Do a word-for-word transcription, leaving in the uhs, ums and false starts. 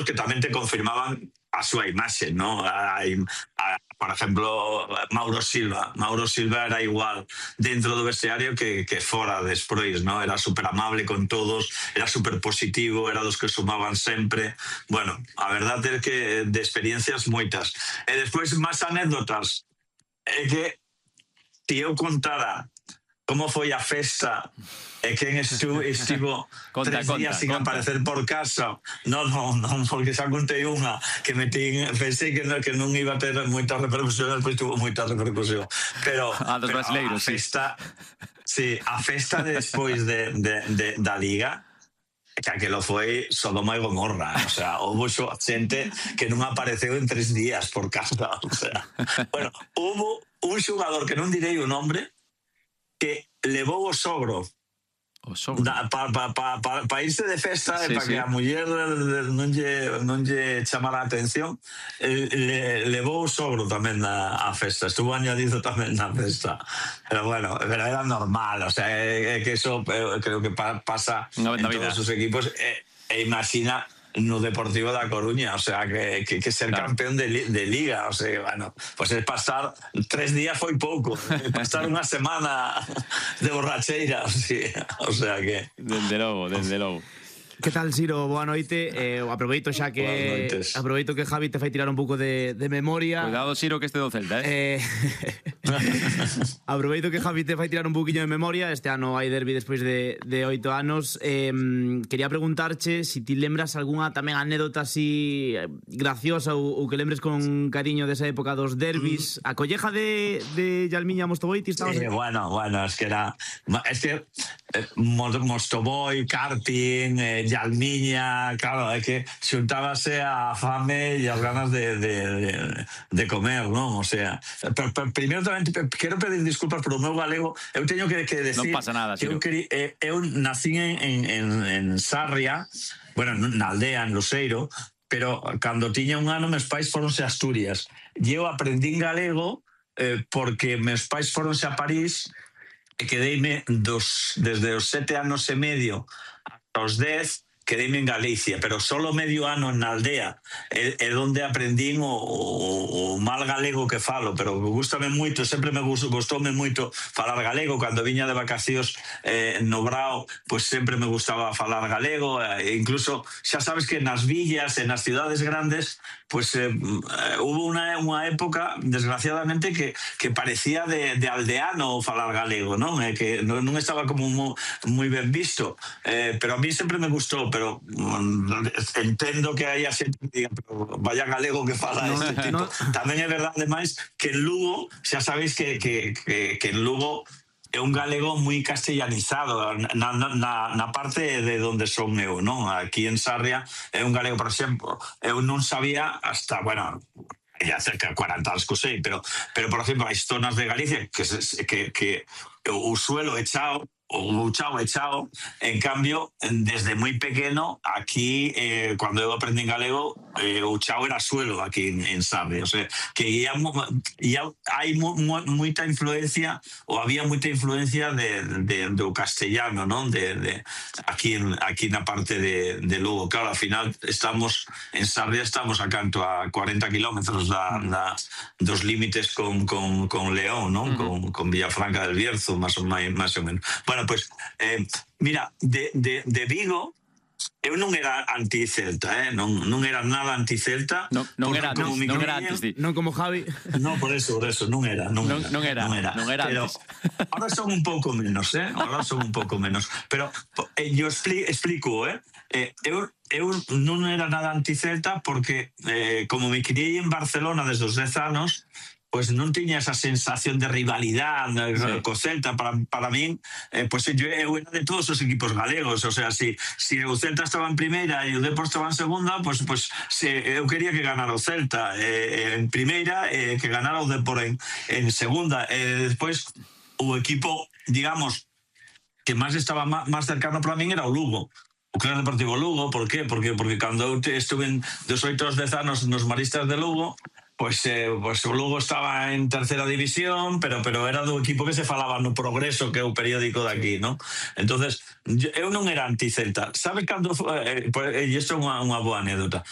que tamén te confirmaban a súa imaxe, ¿no? A, a, por exemplo, Mauro Silva. Mauro Silva era igual dentro do vestiario que, que fora despois, ¿no? Era super amable con todos, era super positivo, era dos que sumaban sempre. Bueno, a verdade é que de experiencias moitas. E despois, máis anécdotas. É que se eu contara como foi a festa e quen estivo, estivo conta, tres días conta, sin conta. aparecer por casa. Non, non, non, porque xa contei unha que metín, pensei que non, que non iba a ter moita repercusión, despois tuvo moita repercusión. Pero, ah, dos pero brasileiros, a festa, sí. sí, a festa despois de, de, de, da Liga, que aquilo foi Sodoma e Gomorra, o sea, houve xente que non apareceu en tres días por casa, o sea. Bueno, houve un xogador que non direi o nombre, que levou o sogro para pa, pa, pa, pa irse de festa, sí, para sí. que a muller non lle, non lle chamara a atención, le, levou o sogro tamén a, a festa, estuvo añadido tamén na festa, pero bueno, pero era normal, o sea, é, é que eso creo que pa, pasa no, en todos os equipos, e, e imagina no Deportivo da Coruña, o sea, que, que, que ser claro. campeón de, de Liga, o sea, bueno, pues es pasar tres días foi pouco, pasar unha semana de borracheira, o sea, o sea que... Desde logo, desde logo. Que tal, Siro? Boa noite. Eh, aproveito xa que aproveito que Javi te fai tirar un pouco de, de memoria. Cuidado, Siro, que este do Celta, eh? eh aproveito que Javi te fai tirar un pouquiño de memoria. Este ano hai derbi despois de, de oito anos. Eh, quería preguntarche se si ti lembras algunha tamén anécdota así graciosa ou, ou que lembres con cariño desa época dos derbis. A colleja de, de Yalmiña Mostovoiti estabas... Sí, bueno, bueno, es que era... Es que eh, Mostovoi, karting... Eh, Yalmiña, claro, é que xuntábase a fame e as ganas de, de, de, de comer, non? O sea, pero, pero primeiro tamén quero pedir disculpas por o meu galego. Eu teño que, que decir non pasa nada, que eu, queri, eh, eu nací en, en, en Sarria, bueno, na aldea, en Loseiro, pero cando tiña un ano meus pais foronse a Asturias e eu aprendín galego eh, porque meus pais foronse a París e quedeime dos, desde os sete anos e medio os dez, quedéme en Galicia, pero solo medio ano na aldea é, é onde aprendín o, o, o mal galego que falo, pero gustame moito, sempre me gustou, gustoume moito falar galego. Cando viña de vacacións eh, no Brao, pues sempre me gustaba falar galego, e incluso xa sabes que nas villas e nas cidades grandes pues eh, hubo unha, unha época, desgraciadamente, que, que parecía de, de aldeano falar galego, non? Eh, que non, non estaba como moi, moi ben visto, eh, pero a mí sempre me gustou, pero um, entendo que hai a xente que diga, pero vaya galego que fala no, este tipo. No. Tamén é verdade, máis, que en Lugo, xa sabéis que, que, que, que en Lugo é un galego moi castellanizado na, na, na parte de onde son eu, non? Aquí en Sarria é un galego, por exemplo, eu non sabía hasta, bueno, ya cerca de cuarenta anos que sei, pero, pero por exemplo, hai zonas de Galicia que, que, que o suelo é chao, o chao é chao, en cambio, desde moi pequeno, aquí, eh, cando eu aprendí en galego, eh, o chao era suelo aquí en, en Sarria, o sea, que ya, ya hai moita influencia, ou había moita influencia de, de, do castellano, non? De, de, aquí, en, aquí na parte de, de Lugo. Claro, ao final, estamos, en Sarria estamos a canto a cuarenta kilómetros da, da, dos límites con, con, con León, non? Con, con Villafranca del Bierzo, máis ou, máis ou menos. Bueno, pues, eh, mira, de, de, de Vigo, eu non era anti-Celta, eh? non, non era nada anti-Celta. Non, non era, non, non era antes, di. Non como Javi. Non, por eso, por eso, non era. Non, non, era, non era, non era, non era pero antes. Ahora son un pouco menos, eh? Ahora son un pouco menos. Pero eh, yo explico, explico eh? eh eu, eu non era nada anti-Celta porque, eh, como me criei en Barcelona desde os dez anos, pues non tiña esa sensación de rivalidade sí. co Celta. Para, para min, eh, pues eu, eu era de todos os equipos galegos, o sea, si, si o Celta estaba en primeira e o Depor estaba en segunda, pues, pues si, eu quería que ganara o Celta eh, en primeira e eh, que ganara o Depor en, en segunda. Eh, despois, o equipo, digamos, que máis estaba máis cercano para min era o Lugo. O Club Deportivo Lugo, por qué? Porque, porque cando eu estuve en dos oito aos dez anos nos Maristas de Lugo, Pues, eh, pues o Lugo estaba en tercera división, pero pero era do equipo que se falaba no Progreso, que é o periódico de aquí, ¿no? Entonces, eu non era anti-Celta. Sabe cando... Eh, e isto é unha, unha boa anécdota.